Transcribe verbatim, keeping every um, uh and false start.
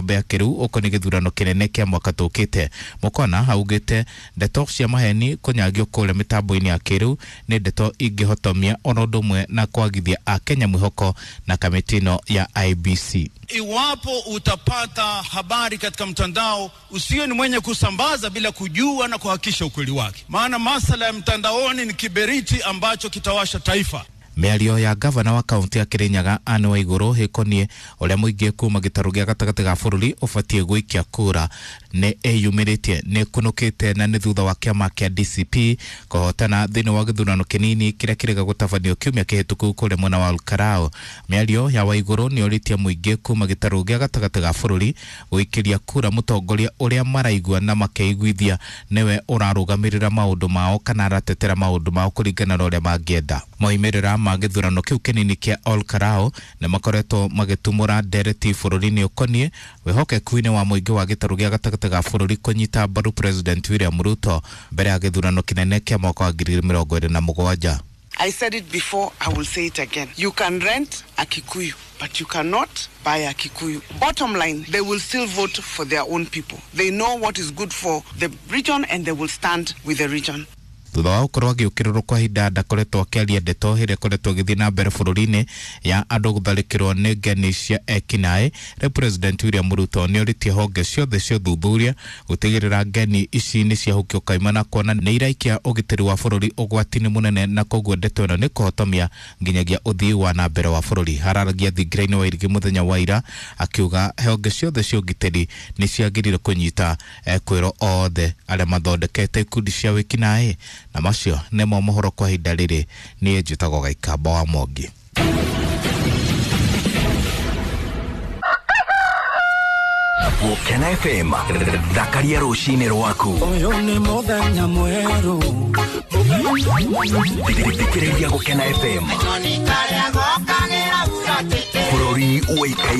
gĩkombe kĩrĩu ũkoniĩ gĩthurano kĩnene kĩa mwaka tũkĩte. Mukwana augĩte ndeto cia maheni kũnyagio kũrĩa mĩtambo-inĩ ya kĩrĩu nĩ ndeto ingĩhotomia ona ũndũ ũmwe na kwagithia akenya mwĩhoko na kamĩtĩ ĩno ya I B C. Iwapo utapata habari katika mtandao, usiwe ni mwenye kusambaza bila kujua na kuhakikisha ukweli wake, maana masala ya mtandaoni ni kiberiti ambacho kitawasha taifa. Mĩario ya gavana wa kaunti ya Kirinyaga Anne Waiguru ĩkoniĩ ũrĩa mũingĩ kuma gĩtarũ gĩa gatagatĩ ga bũrũri ũbatiĩ gũikia kura nĩ ĩyumĩrĩtie nĩ ĩkunũkĩte na nĩ thutha wa kĩama kĩa D C P kũhotana thĩinĩ wa gĩthurano kĩnini kĩrĩa kĩrĩga gũtabanio kiumia kĩhĩtũku kũrĩa mwena wa Olkalau. Mĩario ya Waiguru nĩ ĩũrĩtie mũingĩ kuma gĩtarũ gĩa gatagatĩ ga bũrũri gũikĩria kura mũtongoria ũrĩa maraigua na makeiguithia nĩwe ũrarũgamĩrĩra maũndũ mao kana aratetera maũndũ mao kũringana na ũrĩa mangĩenda. Moimĩrĩra ma gĩthurano kĩu kĩnini kĩa Olkalau nĩ makoretwo magĩtumũra ndereti bũrũri-inĩ ũkoniĩ wĩhokeku-inĩ wa mũingĩ wa gĩtarũ gĩa gatagatĩ ga bũrũri kũnyita mbaru President William Ruto mbere ya gĩthurano kĩnene kĩa mwaka wa ngiri igĩrĩ mĩrongo ĩrĩ na mũgwanja. I said it before, I will say it again. You can rent a Kikuyu, but you cannot buy a Kikuyu. Bottom line, they will still vote for their own people. They know what is good for the region and they will stand with the region. Thutha wa gũkorwo agĩũkĩrĩrwo kwa ihinda ndakoretwo akĩaria ndeto ĩrĩa ĩkoretwo ĩgĩthiĩ na mbere bũrũri-inĩ ya andũ gũtharĩkĩrwo nĩ ngeni cia ekinaĩ, rĩu President William Ruto nĩorĩtie honge ciothe cia ũthuthuria gũtigĩrĩra ngeni ici nĩ ciahukio kaimana kuona nĩ iraikia ũgitĩri wa bũrũri ũgwati-inĩ mũnene na koguo ndeto ĩno nĩ kũhotomia nginyagia ũthii wa na mbere wa bũrũri. Hararagia thingira-inĩ wa Irigi mũthenya wa ira akiuga honge ciothe cia ũgitĩri nĩ ciagĩrĩire kũnyita ekwĩrwo othe arĩa mathondekete ikundi cia wĩkinaĩ. Na macio nĩmo mohoro kwa ihinda rĩrĩ. Niĩ njĩtagwo Gaikamba wa Mwangi. Gũkena F M, thakaria rũcinĩ rwaku. Ũyũ nĩ mũthenya mwerũ. Thikĩrĩria Gũkena F M. Bũrũri ũĩkaine.